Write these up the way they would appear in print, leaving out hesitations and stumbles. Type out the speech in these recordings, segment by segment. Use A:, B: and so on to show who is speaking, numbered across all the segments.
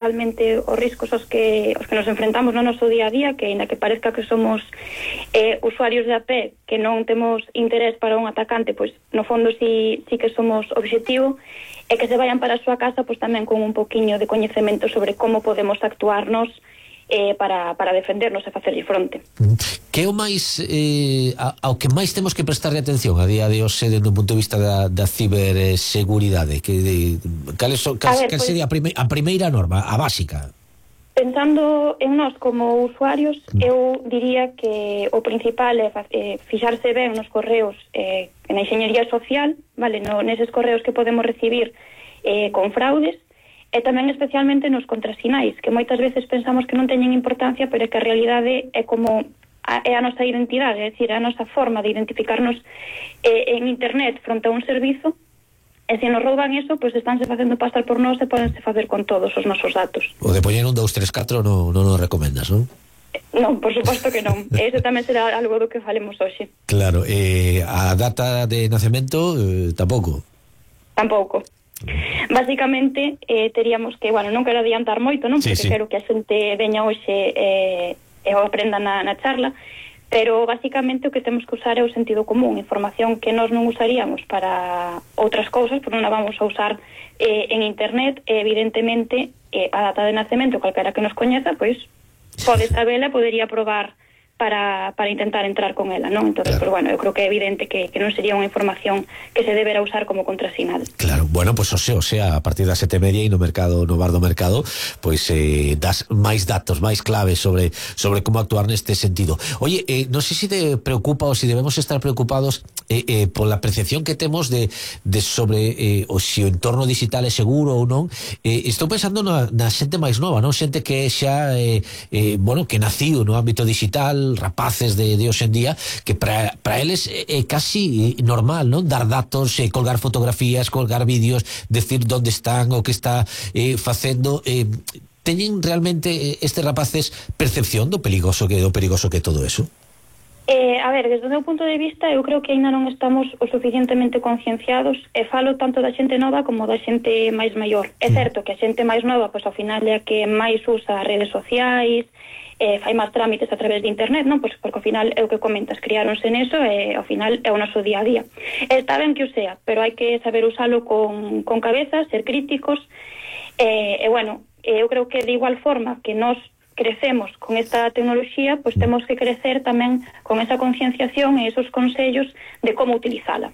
A: realmente os riscos aos que nos enfrentamos no noso día a día, que ainda que parezca que somos usuarios de a pé, que non temos interés para un atacante, pois no fondo sí que somos objetivo, e que se vayan para a súa casa pois tamén con un poquiño de coñecemento sobre como podemos actuarnos para defendernos e facerlle fronte.
B: Que é o máis ao que máis temos que prestarle atención a día de hoxe desde o punto de vista da ciberseguridade? Cal sería a primeira norma, a básica?
A: Pensando en nós como usuarios, eu diría que o principal é fixarse ben nos correos na enxeñería social, vale, neses correos que podemos recibir con fraudes, e tamén especialmente nos contrasinais, que moitas veces pensamos que non teñen importancia, pero é que a realidade é como é a nosa identidade, é dicir, a nosa forma de identificarnos en internet fronte a un servizo, e se nos rouban eso, pois estánse facendo pasar por nós e podense facer con todos os nosos datos.
B: O de poñer un 2, 3, 4 non nos recomendas, non?
A: Non, por suposto que non. Ese tamén será algo do que falemos hoxe.
B: Claro, a data de nacemento tampouco?
A: Tampouco. Básicamente teríamos que, non quero adiantar moito, non? Porque quero que a xente veña hoxe e o aprenda na charla, pero basicamente o que temos que usar é o sentido común, información que nós non usaríamos para outras cousas, porque non a vamos a usar en internet, e evidentemente a data de nacemento, calquera que nos coñeza, pois pode sabela, podería probar para intentar entrar con ela, non? Entonces, claro. Pues eu creo que é evidente que non sería unha información que se deberá usar como contrasinal.
B: Claro, bueno, pues o sea, a partir das 7:30 e no bar do mercado, pues das máis datos, máis claves sobre como actuar neste sentido. Oye, non sei se te preocupa ou se debemos estar preocupados pola percepción que temos de sobre o se o entorno digital é seguro ou non. Estou pensando na xente máis nova, non? Xente que xa que naciu no ámbito digital, rapaces de hoxe en día, que para eles é casi normal, non? Dar datos, colgar fotografías, colgar vídeos, decir onde están, o que está facendo. Teñen realmente estes rapaces percepción do perigoso que é todo eso?
A: A ver, desde o meu punto de vista, eu creo que aínda non estamos o suficientemente concienciados, e falo tanto da xente nova como da xente máis maior. É certo que a xente máis nova, pois ao final é a que máis usa as redes sociais, fai máis trámites a través de internet, non? Pois porque ao final é o que comentas, criáronse neso e ao final é o noso día a día. Está ben que o sea, pero hai que saber usalo con cabeza, ser críticos, eu creo que de igual forma que nós crecemos con esta tecnoloxía, pois temos que crecer tamén con esa concienciación e esos consellos de como utilizala.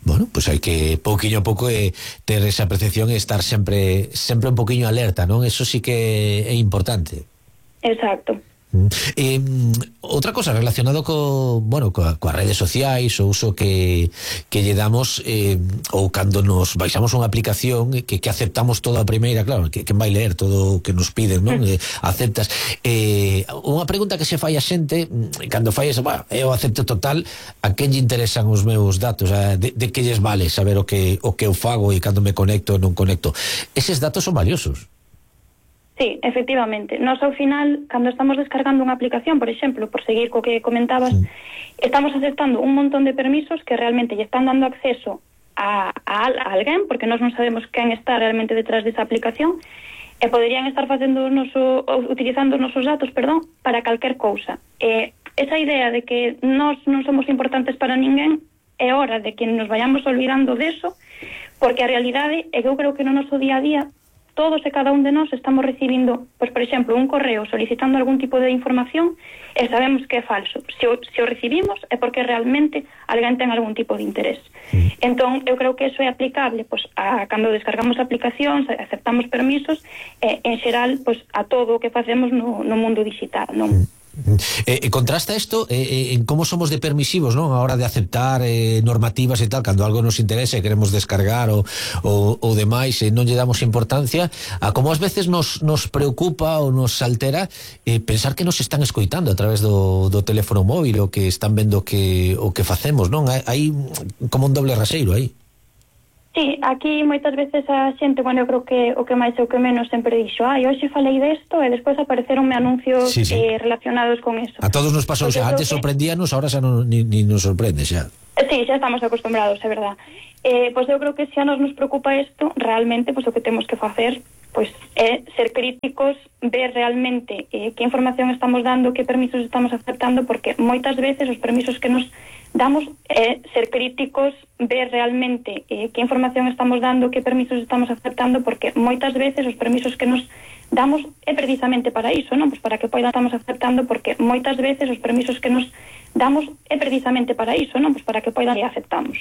B: Bueno, pues hai que pouquiño a pouco ter esa percepción e estar sempre un poquiño alerta, non? Eso sí que é importante.
A: Exacto.
B: Outra cosa relacionado coas redes sociais, o uso que lle damos, ou cando nos baixamos unha aplicación que aceptamos toda a primeira, claro, que vai ler todo o que nos piden, non? Aceptas. Unha pregunta que se fai a xente cando fai esa, eu acepto total, a quen lle interesan os meus datos, de que lles vale saber o que eu fago e cando me conecto ou non conecto. Eses datos son valiosos.
A: Sí, efectivamente. Nós ao final, cando estamos descargando unha aplicación, por exemplo, por seguir co que comentabas, estamos aceptando un montón de permisos que realmente lle están dando acceso a alguén, porque nós non sabemos quen está realmente detrás desa aplicación, e poderían estar utilizando os nosos datos, para calquer cousa. Esa idea de que nós non somos importantes para ninguén, é hora de que nos vayamos olvidando deso, porque a realidade é que eu creo que no noso día a día todos e cada un de nós estamos recibindo, pois, por exemplo, un correo solicitando algún tipo de información e sabemos que é falso. Se o recibimos é porque realmente alguén ten algún tipo de interés. Entón, eu creo que eso é aplicable pois, cando descargamos aplicacións, aceptamos permisos, en xeral, pois, a todo o que facemos no mundo digital, non?
B: Contrasta isto en como somos de permisivos, non? A hora de aceptar normativas e tal, cando algo nos interesa e queremos descargar ou demais e non lle damos importancia, a como ás veces nos preocupa ou nos altera pensar que nos están escoitando a través do teléfono móvil, o que están vendo o que facemos, non? Hai como un doble raseiro aí.
A: Sí, aquí moitas veces a xente, eu creo que o que máis e o que menos sempre dixo, hoxe falei desto e despois apareceronme anuncios relacionados con eso.
B: A todos nos pasou, xa antes sorprendíanos, ahora xa ni nos sorprende xa.
A: Sí, xa estamos acostumbrados, é verdad. Pois eu creo que se a nos preocupa isto, realmente, pois o que temos que facer pois é ser críticos, ver realmente que información estamos dando, que permisos estamos aceptando, porque moitas veces os permisos que nos damos é ser críticos, ver realmente que información estamos dando, que permisos estamos aceptando, porque moitas veces os permisos que nos damos é precisamente para iso, non? Pois para que poida estamos aceptando, porque moitas veces os permisos que nos damos é precisamente para iso, non? Pois para que poida e aceptamos.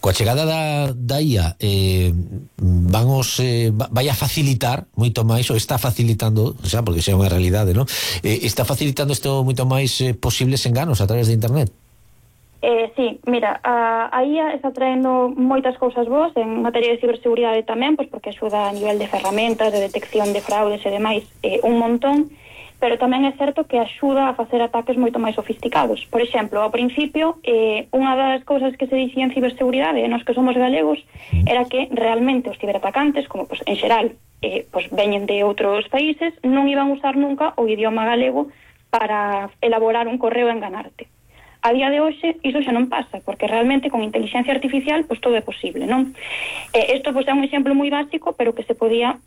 B: Coa chegada da IA vai a facilitar moito máis, ou está facilitando, xa, porque xa é unha realidade, non? Está facilitando isto moito máis posibles enganos a través de internet.
A: Sí, mira, a IA está traendo moitas cousas boas en materia de ciberseguridade tamén, pois porque axuda a nivel de ferramentas, de detección de fraudes e demais un montón, pero tamén é certo que axuda a facer ataques moito máis sofisticados. Por exemplo, ao principio, unha das cousas que se dicía en ciberseguridade nos que somos galegos era que realmente os ciberatacantes, como pois, en xeral veñen de outros países, non iban a usar nunca o idioma galego para elaborar un correo e enganarte. A día de hoxe iso xa non pasa, porque realmente con inteligencia artificial pois todo é posible, non? Isto pois é un exemplo moi básico, pero que se podía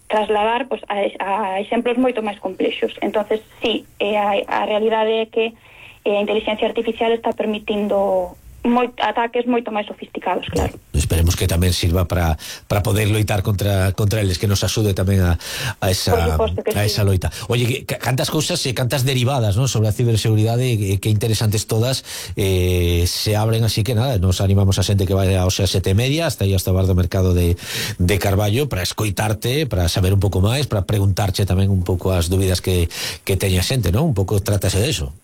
A: trasladar pois a exemplos moito máis complexos. Entonces, sí, a realidade é que a inteligencia artificial está permitindo ataques moito máis sofisticados, claro.
B: Esperemos que tamén sirva para poder loitar contra eles, que nos axude tamén a esa loita. Oye, cantas cousas e cantas derivadas, ¿no?, sobre a ciberseguridade, que interesantes todas, se abren, así que nada, nos animamos a xente que vai ao 7:30 hasta aí hasta o bar do mercado de Carballo para escoitarte, para saber un pouco máis, para preguntarche tamén un pouco as dúbidas que teña xente, ¿no? Un pouco trátase de eso.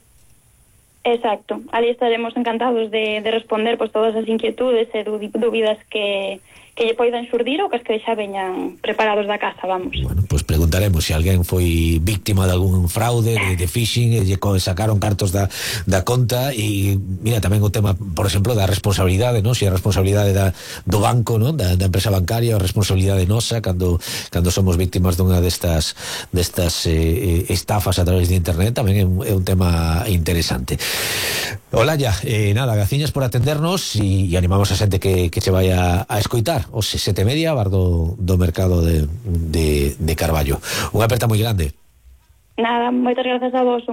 A: Exacto, ali estaremos encantados de responder pois todas as inquietudes e dúbidas que lle poidan xurdir ou que as que xa veñan preparados da casa, vamos.
B: Bueno, pois preguntaremos se alguén foi víctima de algún fraude, de phishing, lle sacaron cartos da conta, e mira, tamén o tema, por exemplo, da responsabilidade, non? Se a responsabilidade do banco, non? Da empresa bancaria, a responsabilidade nosa cando somos víctimas dunha destas estafas a través de internet, tamén é un tema interesante. Olalla, nada, graciñas por atendernos e animamos a xente que se vaya a escoitar os 7:30 bar do mercado de Carballo. Unha aperta moi grande.
A: Nada, moitas grazas a vos.